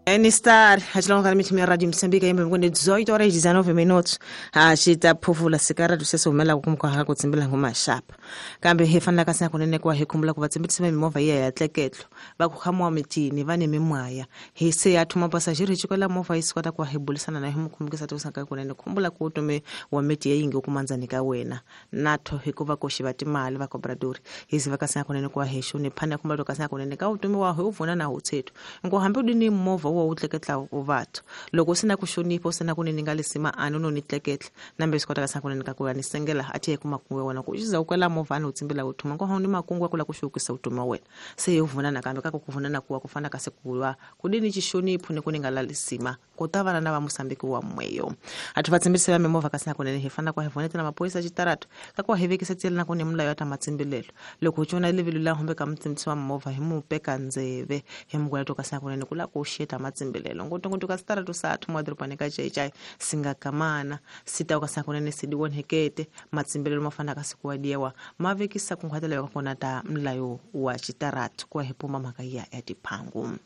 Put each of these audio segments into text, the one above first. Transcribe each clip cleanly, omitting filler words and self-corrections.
Star achilonga mithimi ya radio Msambika yembe mkone 18 horas 19 minutos achita phufula sikara tusese humela kumka ha kutsimbila ngoma shapa kambe he fanela kasi kunene kwa he khumbula ku vatsimbitisa mimovha iya ya tleketlo va ku khamuwa mitini va ni mimwaya he se ya thuma pasajeri chikola movha yi sikota kwa he bulisana na he mukhumbukisa tusaka kunene khumbula ku tume wa miti ya yingi kumandzani ka wena natho hikuva koxi va timali va cobradori hizi va kasi kunene kwa he xuni phana khumbula to kasi kunene ka utume wa he uvuna na utsethu ngo hambi udini movha wo utleketla uvathu loko usina ku xonipha usina kunene nga lesima ani no ni tleketla nambe sikota kasi kunene ka ku ya ni sengela athi ye kuma wena ku uxiza ukwela movha ani utsimbila uthuma ngo ni makungu akula ku xukisa utuma wena se ye uvuna nakambe ka ku kuvuna na kuwa kufana kasi kuwa kudini xixonipho ni ku ni nga lalisima kutavana na va Mosambiki wa mweyo athu vatsimbisi va mimovha kasi nakunene hi fana kwa hi vonetela maphorisa xitaratu ka ku hi vekisa tsela na ku ni mulayo ya ta matsimbilelo loko hi cona levilo la humbe ka mutsimbisi wa movha hi mu peka ndzeve hi mugwela to kasi nakunene ku la ku xeta matsimbilelo ngotongoto ka sitaratu sa thuma dorobani ka Xai-Xai singakamana sita kasi nakunene sidiwonhekete matsimbilelo ma fana kasi ku wadiwa ma vekisa ku nkhwatela ya kona ta mulayo wa xitaratu ku hi puma mhaka ya ya tiphangu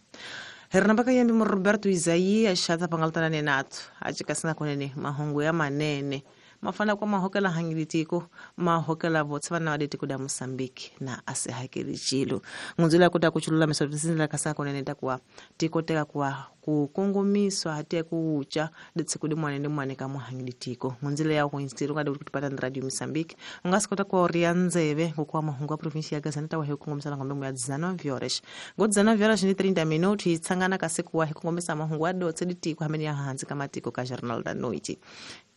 Hernambaka yembe mo Roberto Isaías xata pangaltana nenato achikasina kunene mahungu ya manene mafana kwa mahokela hangilitiko mahokela votse vana vaditiko da Mosambiki na asehakeli chilo ngunzula kuta kuchulula misotisindla kasa kunene takuwa tikoteka kuwa kukongomiswa hati kuucha ditsikudi mwane ndi mwane ka muhangilitiko ngunzila ya kuinstiro kada kutipata na radio Mosambiki ungasikota kwa orianzeve ngokwa mahungu ya provinsia ya Gaza nitawa hekungomisa ngombe ya 19 horas ngo 19 horas ni 30 minutos itsangana kasikuwa hekungomisa mahungu adotse ditiko hamene ya hanzi kamatiko ka Jornal da Noite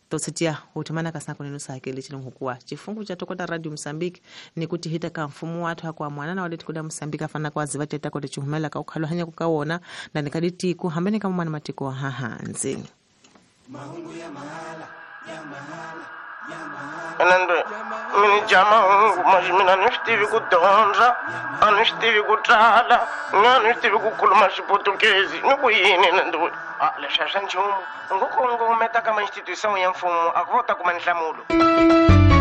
totsitia utumana kasina kuneno sakele chilongokuwa chifungu cha tokota radio Mosambiki ni kuti hita ka mfumo watu hakwa mwana na waleti kuda Mosambiki afana kwa ziva teta kote chihumela ka ukhalo hanya kukaona na nikaditiku hambene kama mwana matiko hahanzi mahungu ya mahala ya mahala ya mahala Nando mini jama hungu majimina nishtivi kudonza anishtivi kutala nganishtivi kukhuluma xiputukezi ni ku yini nando leswi a swa nchumu ngo kongometa ka ma institution ya mfumo a ku vo ta kuma nhlamulo.